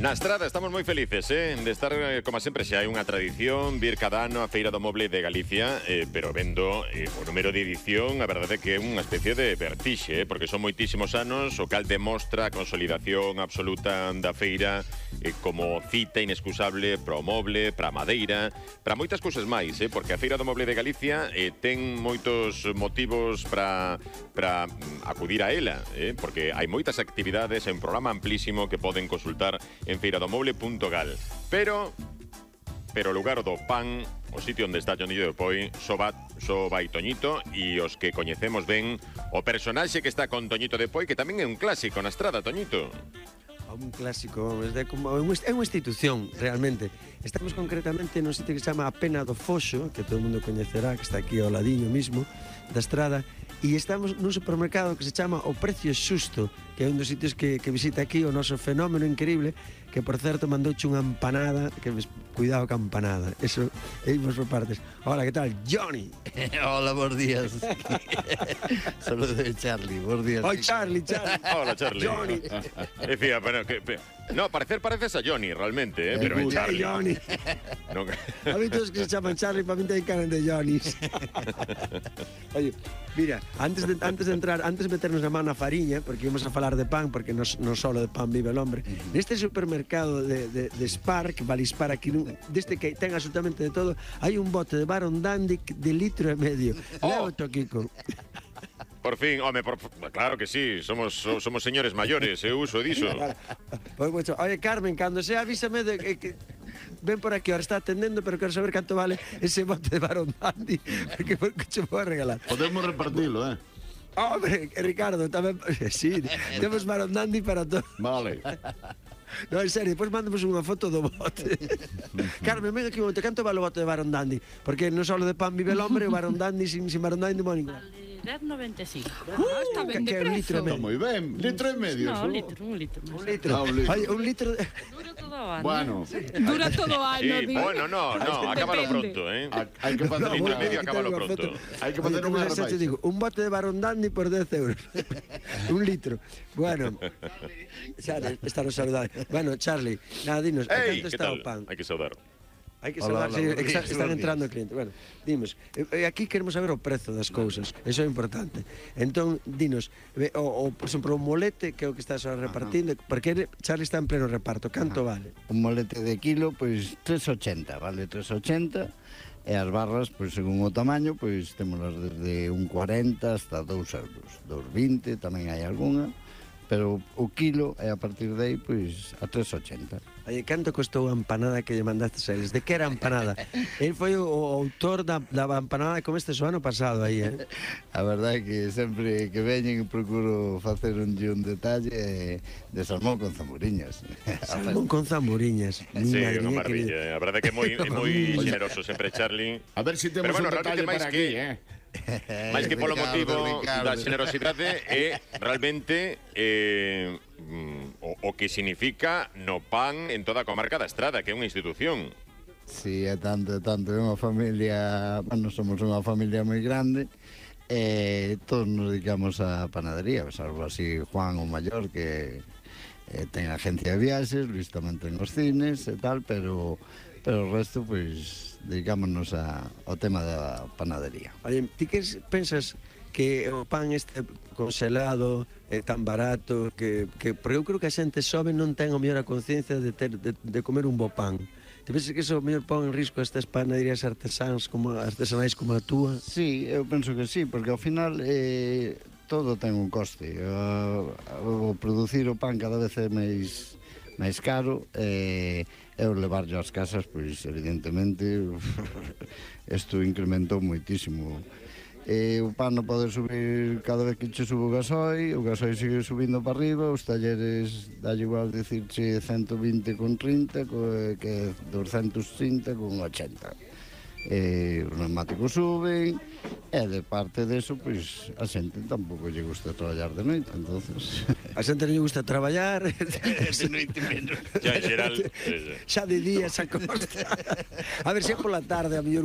Na Estrada estamos moi felices, de estar, como sempre, xa hai unha tradición, vir cada ano a Feira do Moble de Galicia, pero vendo o número de edición, a verdade é que é unha especie de vertixe, porque son moitísimos anos, o cal demostra a consolidación absoluta da feira como cita inescusable para o moble, para a madeira, para moitas cousas máis, porque a Feira do Moble de Galicia ten moitos motivos para acudir a ela, porque hai moitas actividades, é un programa amplísimo que poden consultar en feiradomoble.gal. Pero o lugar do pan, o sitio onde está Johnillo de Poi, só vai Toñito, e os que coñecemos ben o personaxe que está con Toñito de Poi, que tamén é un clásico na Estrada, Toñito. Un clásico, é unha institución, realmente. Estamos concretamente nun sitio que se chama A Pena do Foxo, que todo o mundo coñecerá, que está aquí ao ladiño mismo da Estrada, e estamos nun supermercado que se chama O Precio Xusto, que é un dos sitios que visita aquí o noso fenómeno increíble, que, por certo, mandouche unha empanada, que cuidado ca empanada, eso, imos por partes. Hola, que tal? Johnny! Hola, bons días. Saludo de Charlie, bons días. Oi, Charlie. Hola, Charlie. Johnny. Decía, bueno, no, pareces a Johnny, realmente, pero é Charlie. Johnny. No. A mí todos que se chaman Charlie, para mí ten cara de Johnnys. Oye, mira, antes de entrar, antes de meternos a mano na fariña, porque íbamos a falar de pan, porque non solo de pan vive el hombre, neste supermercado de Spar, que vale Spar aquí, deste que ten absolutamente de todo, hai un bote de Baron Dandy de 1,5 litros. Leva o Kiko. Por fin, home, claro que sí, somos señores maiores, eu uso diso. Pues, oye, Carmen, cando sea avísame de que ven por aquí, ahora está atendendo, pero quero saber canto vale ese bote de Baron Dandy, porque che vou a regalar. Podemos repartilo, Hombre, Ricardo, tamén... Sí, temos Baron Dandy para todo. Vale. No, en serio, depois mandamos unha foto do bote. Carmen, ven aquí un momento, canto vale o bote de Baron Dandy? Porque non só de pan vive el hombre, o Baron Dandy sin Baron Dandy non vale ningún. 10,95. Está ben de prezo. Está moi ben, 1,5 litros. No, un litro. Un litro. Oye, un litro... Dura todo o ano. Bueno. Dura todo o ano. Sí, bueno, no, acábalo pronto, Hai que facer litro unha e medio, acábalo pronto. Hai que facer unha repaixa. Te digo, un bote de Baron Dandy por 10 euros. Un litro. Bueno, Charlie, está no saludable. Bueno, Charlie, nada, dinos, Ei, canto que está tal? o pan? Hai que saudar. Hai que saber, están entrando clientes. Bueno, dimos, aquí queremos saber o prezo das cousas, eso é importante. Entón, dinos, por exemplo, o molete que é o que estás repartindo, porque Charlie está en pleno reparto, canto vale? Un molete de kilo, pois 3,80, vale 3,80, e as barras, pois según o tamaño, pois témolas desde 1,40 hasta 2 euros, 2,20, tamén hai algunha, pero o kilo é a partir de aí, pois a 3,80. Oye, canto costou a empanada que lle mandastes a eles? De que era a empanada? El foi o autor da empanada que comestes o ano pasado aí, A verdade é que sempre que veñen procuro facer un detalle de salmón con zamburiñas. Salmón con zamburiñas. Sí, unha maravilla. A verdade é que é moi generoso sempre, Charlie. A ver se temos un detalle para aquí, máis que polo motivo da generosidade é realmente o que significa no pan en toda a comarca da Estrada, que é unha institución. Sí, é tanto, é unha familia, bueno, somos unha familia moi grande, e todos nos dedicamos a panadería, salvo así Juan o maior, que ten agencia de viaxes, Luis tamén ten os cines e tal, pero o resto, pois, dedicámonos ao tema da panadería. Oye, ti que pensas que o pan este congelado é tan barato porque eu creo que a xente sobe non ten o mellor a conciencia de comer un bo pan. Te pensas que iso mellor pon en risco estas panaderías artesanais como a túa? Sí, eu penso que sí, porque ao final todo ten un coste. O producir o pan cada vez é máis caro, e o levarlo ás casas, pois evidentemente isto incrementou moitísimo. O pan non pode subir cada vez que che subo o gasoil sigue subindo para arriba, os talleres dalle igual dicirche 120 con 30 que 230 con 80. Os neumáticos suben, e de parte deso, pois a xente tampouco lle gusta traballar de noite, entonces... A xente non lle gusta traballar, de noite menos. Ya en xeral... xa de día, xa costa. A ver, se pola tarde, a mellor